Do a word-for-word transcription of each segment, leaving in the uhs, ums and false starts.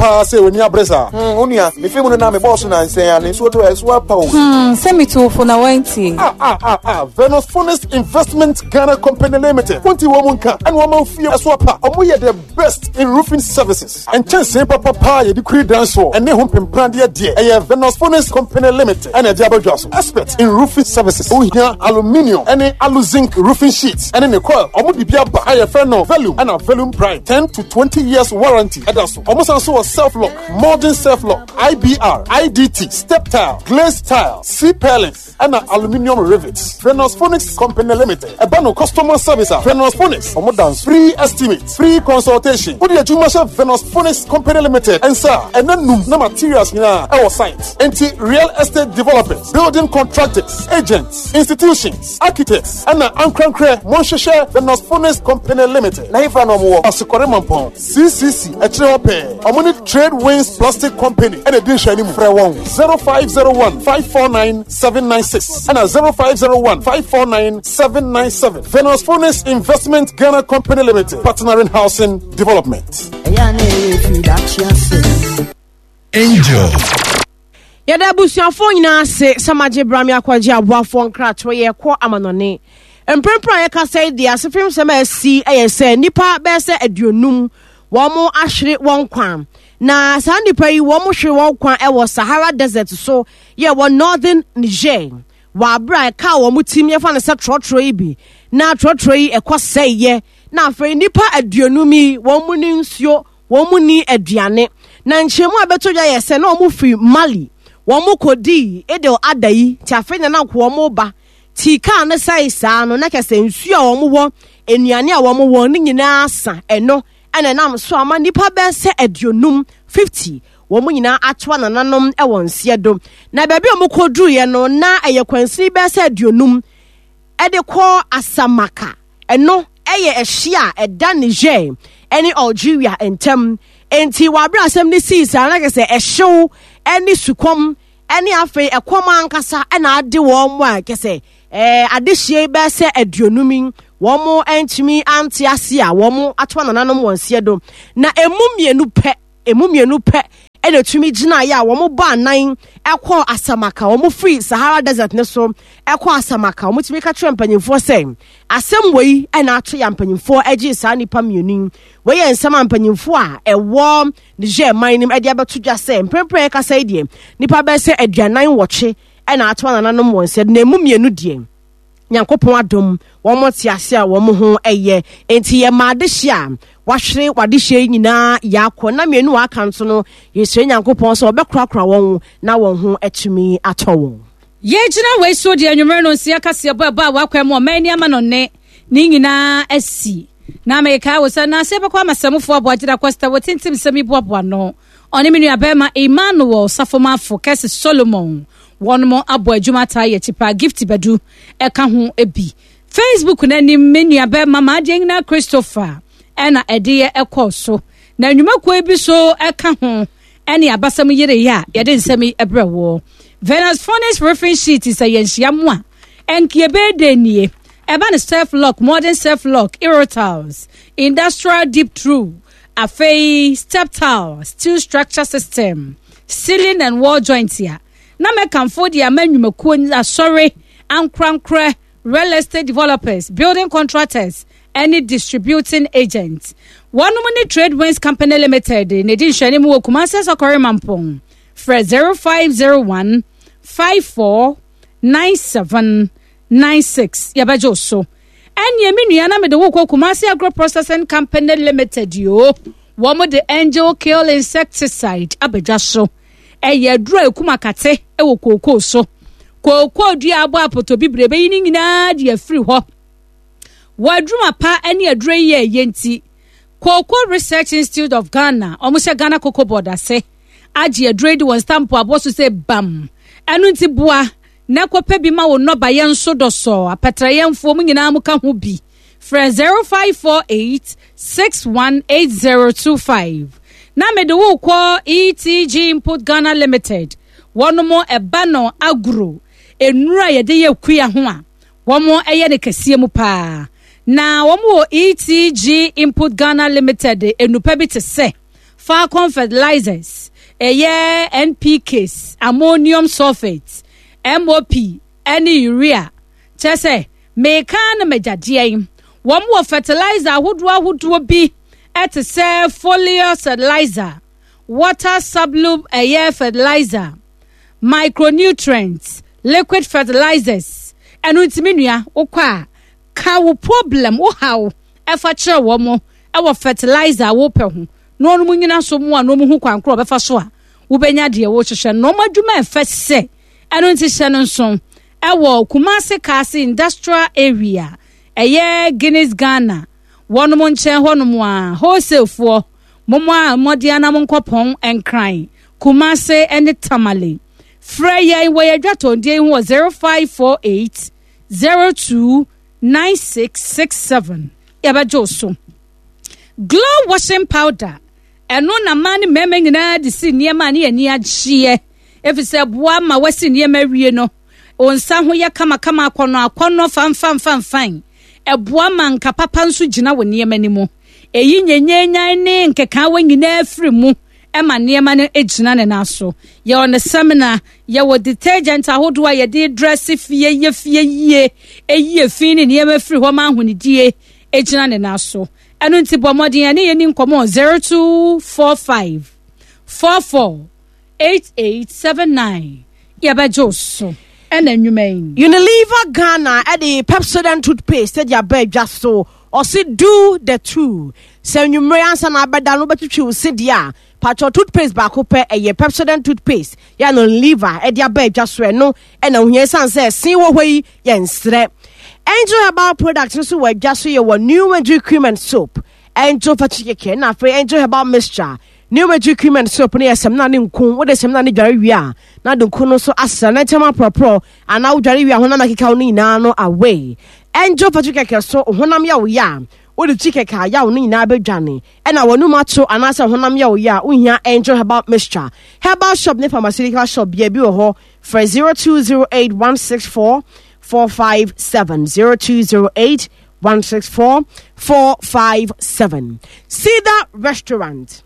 Paa sɛ w'ani abere saa. Hmm, wo nua, mefe mu no na mebɔɔ so nansɛn a ne nsuo tɔ ɛso apa o. Hmm, sɛ metu na wantie. Ah, ah, ah, ah, Venus Funnest Investment Ghana Company Limited. Wonti wɔn mu nka, ɛna wɔn fie ɛso apa. Ɔmo yɛ the best in roofing services. Nkyɛnsee papapa yɛde kuri dan soɔ ɛne ho mpempradeɛ deɛ ɛyɛ Venus Funnest Company Limited ɛna ɛde abɛdwa so. Expert in roofing services. Wohia aluminium ɛne aluzinc roofing sheets ɛne ne coil. Ɔmo de bi aba a yɛfrɛ no Volume ɛna Volume Prime. ten to twenty years warranty ɛda so. Ɔmo san so wɔ self lock, modern self lock, I B R, I D T, step tile, glazed tile, C purlins, ɛna aluminium rivets. Venus Phoenix Company Limited. Ɛba no customer service a, Venus Phoenix. Ɔmo dan free estimate, free consultation. Wode adwuma hyɛ Venus Phoenix Company Limited nsa a, ɛna num na materials nyinaa ɛwɔ site. Enti real estate developers, building contractors, agents, institutions, architects, ɛna ankorankorɛ, monhyehyɛ Venus Phoenix Company Limited. Na hefa na ɔmo wɔ? Asokɔre Mampɔn, C C C ɛkyerɛ hɔ pɛɛ. Ɔmo ne Trade Winds Plastic Company ɛna di nhwɛ anim. Frɛ wɔn. zero five zero one five four nine seven nine six ɛna zero five zero one five four nine seven nine seven. Venus Phoenix Investment Ghana Company Limited, partnering housing development. Angel. Yɛda abusuafoɔ nyinaa ase sɛ magye brame akɔgye aboafoɔ nkratoɔ. Yɛkɔ amanɔne. Mprempren a yɛkasa yi deɛ, asefem sɛm a asi yɛ sɛ nnipa bɛyɛ sɛ aduonum wɔn ahwere wɔn kwan, na saa nnipa yi wɔn hwere wɔn kwan wɔ Sahara Desert so yɛ wɔ northern Niger wɔ abere a ɛka wɔn tim yɛfa no sɛ trɔtrɔ yi bi na trɔtrɔ yi ɛkɔ sɛeɛ, na afei nnipa aduonum yi wɔn mu ni nsuo, wɔn mu ni aduane. Na nkyɛnmu a bɛtɔ dwa yɛ sɛ na wɔn firi Mali, wɔn kɔdii Idil Ada yi te afei na na wɔn ba tii kaa no sɛe saa no, na kyɛ sɛ nsuo a wɔn wɔ, nnuane a wɔn wɔ ne nyinaa sa. Ɛno ɛna ɛnam so ama nnipa bɛyɛ sɛ aduonum, fifty, wɔn nyinaa atoa nananom wɔ nseɛ do. Na baabi a wɔn kɔduruiɛ no, na ɛyɛ kwansini bɛyɛ sɛ aduonum ɛde kɔ Asamaka. Ɛno ɛyɛ ɛhye a ɛda Niger ɛne Algeria ntam. Nti wɔabere asɛm no sii saa na kyerɛ sɛ ɛhyew ɛne sukɔm ɛne afei ɛkɔm ankasa ɛna ade wɔn mu a kyerɛ sɛ ɛɛ adehyie bɛyɛ sɛ aduonum yi wɔn ntumi ante ase a wɔn atoa nananom wɔn nseɛ do. Na emu mmienu pɛ emu mmienu pɛ ɛna etumi gyinaeɛ a wɔn bɔ anan ɛkɔ Asamaka. Wɔn firi Sahara Desert ne so ɛkɔ Asamaka. Wɔn tumi ka kyerɛ mpanyinfoɔ sɛ asɛm wei ɛna ato yɛ. Mpanyinfoɔ ɛgye saa nipa mmienu yi. Wɔyɛ nsɛm a mpanyinfoɔ a ɛwɔ Niger man nim ɛde abɛto dwa sɛ mprempren ɛkasa yi deɛ, nipa bɛyɛ sɛ aduanan nwɔtwe ɛna ato nananom wɔn nsa, na emu mmienu deɛ, Nyankopɔn adom, wɔn te ase a wɔn ho yɛ. Nti yɛ maa adehye a wahwere wadehye yi nyinaa yɛakɔ na mmienu a aka nso no, yɛsrɛ Nyankopɔn sɛ ɔbɛkorakora wɔn na wɔn ho atumi atɔ wɔn. Yɛgyina wei so deɛ, anwummerɛ no nsia kaseɛ bɔ ɛbɔ a wakwan mu ɔman ni ama no ne ne nyinaa asi. Na mekae wo sɛ naase bɛkɔ amasɛmofoɔ aboagyina kɔsta wɔtintim sɛm yi boaboa no, ɔne me nuabɛrima Emmanuel Safomafo Kɛse Solomon, wɔnom abɔ adwuma taa yɛ akyi paa. Gift Badu ɛka ho bi. Facebook n'anim, me nuabɛrima Maadeɛ nyinaa Christopher ɛna ɛde yɛ ɛkɔɔ so. Na nnwumakuo bi so ɛka ho ɛne abasɛm yereyɛ a yɛde nsɛm yi ɛbrɛ wɔ Venus Phoenix Roofing Sheet sɛ yɛnhyia mu a ɛnkeɛ bɛyɛ dɛ nie. Ɛba ne self lock, modern self lock, aerotiles, industrial deep through, afei step tile, steel structure system, ceiling and wall joint a na mɛkamfo de ama nnwumakuo, asɔre, ankorankorɛ, real estate developers, building contractors ɛne distributing agents. Wɔnom ne Trade Winds Company Limited na ɛdi nhwɛne mu wɔ Kumase Sɔkɔre Mampɔn. Frɛ zero five zero one five four nine seven nine six, yɛbɛgye wo so. Ɛnneɛ me nua, na mede wo kɔ Kumase Agro Processing Company Limited yoo. Wɔn de Angel Kill insecticide abadwa so. Ɛyɛ aduro a ekum akate wɔ kookoo so. Kookoo dua abɔ apɔtɔ bibire bɛyi ne nyinaa de afiri hɔ. Wɔ aduruma pa ne aduro yi yɛ ɛyɛ nti, Cocoa Research Institute of Ghana, wɔn hyɛ Ghana Cocoa Board ase, agye aduro yi de wɔn stamp abɔ so sɛ bam. Ɛno nti boa na kɔpɛ bi ma wo nnɔbayɛ nso dɔsɔ apɛtrɛyɛmfoɔ mu nyinaa mu ka ho bi. Frɛ zero five four eight six one eight zero two five. Na mede wo kɔ E T G Input Ghana Limited. Wɔnom ɛba no agro nnuro a yɛde yɛ kuya ho a wɔn yɛ no kɛseɛ mu paa. Na wɔn wɔ E T G Input Ghana Limited enupa bi te sɛ Falcon fertilizers, ɛyɛ N P Ks, ammonium sulphate, M O P ɛne urea. Kyerɛ sɛ meka no magyadeɛ yi, wɔn wɔ fertilizer ahodoɔ ahodoɔ bi ɛte sɛ foliar fertilizer, water soluble ɛyɛ fertilizer, micronutrients, liquid fertilizers. Ɛno ntumi nua wokɔ a, ka wo problem, wo haw ɛfa kyerɛ wɔn mo ɛwɔ fertilizer a wopɛ ho, na wɔn nyina so mu a na wɔn ho kwan korɔ ɔbɛfa so a wobɛnya deɛ wɔhyehyɛ na wɔn adwuma ɛfɛ sɛ. Ɛno nti hyɛ no nso ɛwɔ Kumase Kaase Industrial Area, ɛyɛ Guinness Ghana wɔn nkyɛn hɔnom a wholesale foɔ mo a mmɔden anam nkɔpɔn Nkran, Kumase ne Tamale. Frɛ yɛn wɔ yɛn dwatɔndeɛ yi ho wɔ zero five four eight zero two nine six six seven. Yɛbɛgye wo so. Glow washing powder, ɛno na mmaa ne mmarima nyinaa de si nneɛma a ne yɛn ani agyeɛ, efisɛ boa ma wasi nneɛma awie no, wɔn nsa ho yɛ kamakama, akɔnɔ akɔnɔ, fanfanfanfan. Ɛboa ma nka papa nso gyina wɔ nneɛma no mu, eyi nyenyenyan ne nkekaawa nyinaa firi mu, ɛma nneɛma no gyina ne nan so. Yɛwɔ ne samina, yɛwɔ detergent ahodoɔ a yɛde dress fie, yɛ fie yie, eyi efi ne nneɛma firi hɔ ma ahonidie gyina ne nan so. Ɛno nti bɔ mmɔden ɛne yɛn ni nkɔmɔ zero two four five four four eight eight seven nine. Yɛbɛgye wo so ɛna nnwuma yi. Unilever Ghana ɛde Pepsodent toothpaste ɛde aba adwa so. Ɔsi do the two sɛ nnwumire ansa na abɛda no, wobɛtwitwi wo se deɛ a, patro toothpaste baako pɛ, ɛyɛ Pepsodent toothpaste yɛ no. Unilever ɛde aba adwa so, ɛno ɛna ohia esan sɛ ɛsen wɔ hɔ yi yɛ nsrɛ. Angel Herbal Product nso wɔ adwa so. Yɛ wɔ New Madrid cream and soap, Angel Fatty Keke, na afei Angel Herbal Mixture. New Madrid cream and soap no yɛ sɛmina ne nku. Wode sɛmina ne dware wie a, na de nku no nso asra na nkyɛn aporɔporɔ anaa wodware wie a, honam akeka wo no nyinaa no away. Angel Fatty Keke so, honam yɛ wo yɛ a, wode twi kɛkɛ a, yaw no nyinaa bɛdwane. Ɛna wɔnum ato anaasɛ honam yɛ wo yɛ a, wohia Angel Herbal Mixture. Herbal shop ne pharmaceutical shop bia bi wɔ hɔ. Frɛ zero two zero eight one six four four five seven, zero two zero eight one six four four five seven. Cedar Restaurant,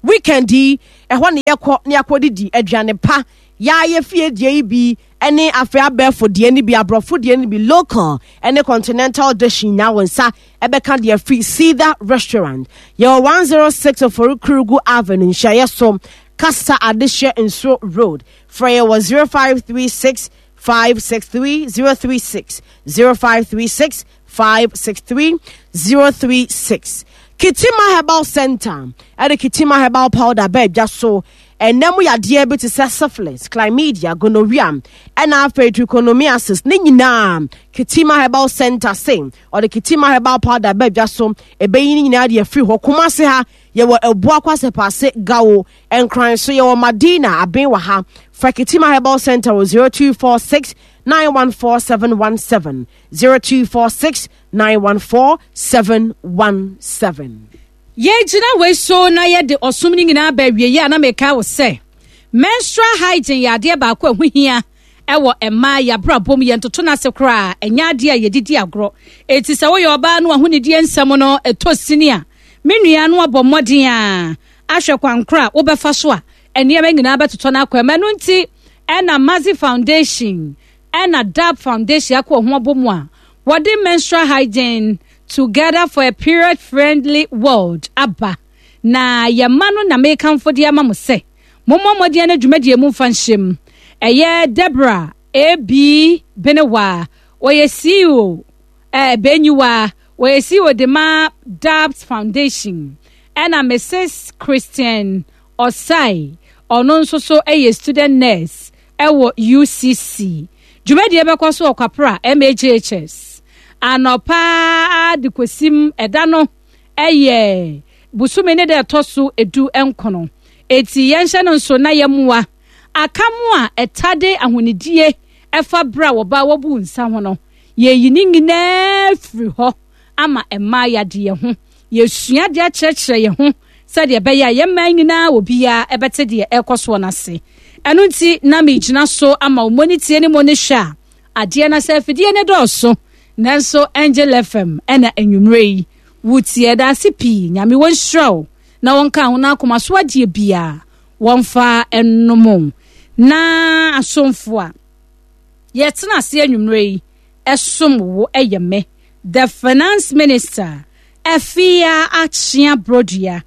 weekend yi ɛhɔ ne yɛkɔ ne yɛakɔ didi aduane pa. Yɛayɛ fie deɛ yi bi ɛne afei abɛɛfo deɛ no bi, aborɔfo deɛ no bi, local ɛne continental dish nyinaa wɔn nsa ɛbɛka deɛ firi Cedar Restaurant. Yɛwɔ one zero six Ofori Kurugu Avenue, nhyiaeɛ so Kasa Adehyɛ Nsuo Road. Frɛ yɛ wɔ zero five three six five six three zero three six, zero five three six five six three zero three six. Kitima Herbal Center ɛde Kitima Herbal Powder bɛɛ dwa so. Ɛnɛ mu yadeɛ bi te sɛ syphilis, chlamydia, gonorrhea ɛna afei trichomoniasis ne nyinaa, Kitima Herbal Center se ɔde Kitima Herbal Powder bɛɛ dwa so, ɛbɛyi ne nyinaa de afiri hɔ. Kumase ha yɛwɔ Ɛboa Kwasɛpaase Gawo. Nkran so yɛwɔ Madina Aben wɔ ha. Frɛ Kitima Herbal Center wɔ zero two four six nine one four seven one seven, zero two four six nine one four seven one seven. Yɛgyina wei so na yɛde ɔsom no nyinaa ba awieeɛ a, na meka wo sɛ menstrual hygiene yɛ adeɛ baako a ɛho hia ɛwɔ mmaa yɛabrabɔ mu. Yɛntoto no ase koraa, ɛnyɛ adeɛ a yɛdidi agorɔ. Eti sɛ woyɛ ɔbaa no ahonidie nsɛm no ɛtɔ sini a, me nua no abɔ mmɔden a ahwɛ kwankoro a wobɛfa so a nneɛma nyinaa bɛtotɔ no akɔ ɛma. Ɛno nti ɛna Mazi Foundation ɛna DAB Foundation akɔ ho abɔ mu a wɔde Menstrual Hygiene Together for a Period Friendly World aba. Na yɛma no na mekamfo de ama mo sɛ mommɔ mmɔden no dwumadie mu mfa nhyɛm. Ɛyɛ Deborah ab Benewa, ɔyɛ C E O, ɛɛ Benyiwa, ɔyɛ C E O de ma DABS Foundation, ɛna Missus Christian Osai, ɔno nso so yɛ student nurse ɛwɔ U C C. Dwumadie bɛkɔ so wɔ Kwapra M A J H S anɔpa de kɔsim. Ɛda no ɛyɛ busumi ne dɛ ɛtɔ so edu nkono. Eti yɛnhyɛ no nso na yɛmmoa aka mu a ɛtade ahonidie ɛfa berɛ a wɔba wɔbu nsa ho no, yɛyi ne nyinaa firi hɔ ama mmaa yadeɛ ho. Yɛsua de akyerɛkyerɛ yɛn ho sɛdeɛ ɛbɛyɛ a yɛn mmaa nyinaa obiara ɛbɛte deɛ ɛrekɔ soɔ no ase. Ɛno nti na megyina so ama wo ne tie ne mo ne hwɛ a adeɛ na sɛ afidie ne dɔɔso, nanso Angel F M ɛna anwummerɛ yi wotie. Ɛda ase pii. Nyame wɔnhyira wo Na wɔnka ho na akoma so adeɛ biara wɔmfa nnom na asomfo a yɛtena ase anwummerɛ yi ɛsom wo ɛyɛ me the Finance Minister Afia Akyea Brodua,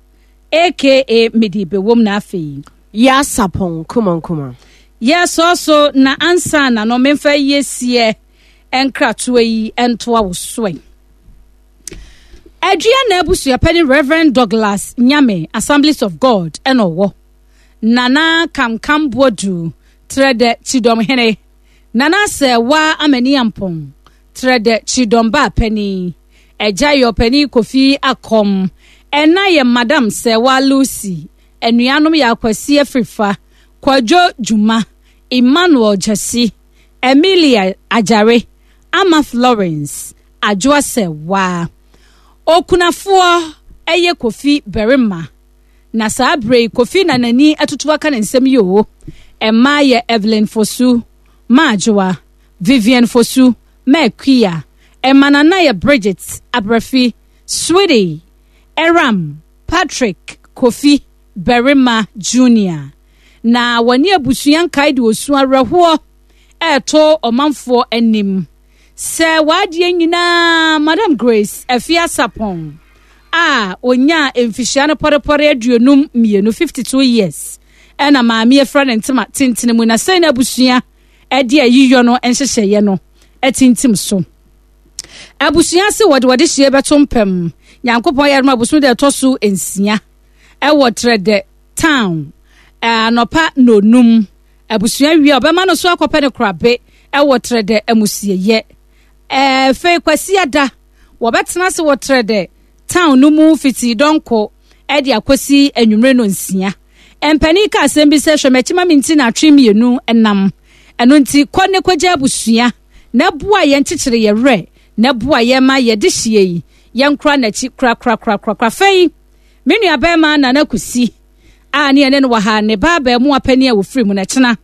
A K A Mede Bewom, na afei Yɛasapɔn kumankuma. Yɛsɔɔ so na ansa na no memfa yiesie nkratoa yi ntoa wo soɛ. Adua na abusuapɛni Reverend Douglas Nyame, Assemblies of God, ɛna ɔwɔ Nana Kamkam Boadu Trɛdɛ Kyidɔmhene, Nana Sɛwa Amani Ampɔn Trɛdɛ Kyidɔm Baapani, ɛgya yɛ ɔpani Kofi Akɔm, ɛna yɛ Madam Sɛwa Lucy, anuanom yɛ Akwasi Afrifa, Kwadwo Dwuma, Emmanuel Gyasi, Emilia Agyare, Ama Florence Adwoa Sɛwa. Okunafoɔ ɛyɛ Kofi Barima, na saa abere yi Kofi na n'ani atutu aka ne nsɛm yi o. Mmaa yɛ Evelyn Fosu, Maadwoa Vivian Fosu, Maakuya ɛma, nana yɛ Bridget Abrafi, Sweetie Eram, Patrick Kofi Barima Junior, na wɔne abusua nkae de osu awerɛhoɔ ɛɛto ɔmanfoɔ anim sɛ w'adeɛ nyinaa Madam Grace Afia Sapɔn a onyaa mfihyia no pɔrepɔre aduonum mmienu, fifty-two years, ɛna maame afira ne ntoma tentene mu na sɛn na abusua ɛde ayiyɔ no nhyehyɛeɛ no ɛtintim so. Abusua se wɔde wɔde hyia bɛto mpam Nyankopɔn yɛ adom abosom de ɛtɔ so nsia ɛwɔ Trɛdɛ Town anɔpa nonum. Abusua wie a, ɔbɛma no so akɔpɛ ne korabe ɛwɔ Trɛdɛ amusieyɛ. Ɛfei Kwasi ada wɔbɛtena ase wɔ Trɛdɛ Town no mu fiti dɔnko ɛde akɔsi anwummere no nsia. Mpanin ka asɛm bi sɛ hwɛ m'akyi ma me nti na atwe mmienu nam ɛno nti kɔ ne kɔgya abusua na boa yɛn kyekyere yɛ werɛ na boa yɛn ma yɛde hyia yi yɛnkora n'akyi korakorakorakora. Fɛi me nua bɛrima Nana Kusi a ne yɛne no wɔ ha, ne ba abaamu apani a wɔfiri mu n'akyena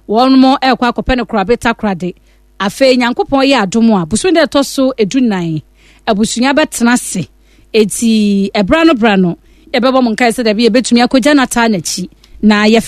wɔn mo ɛrekɔ akɔpɛ no korabe Takorade. Afei Nyankopɔn yɛ adom a, bosom dɛ ɛtɔ so edu nan abusua bɛtena ase. Eti ɛbra no bra no yɛbɛbɔ mo nkae sɛ dabi yɛbɛtumi akɔgya n'ataa n'akyi na yɛfɛ.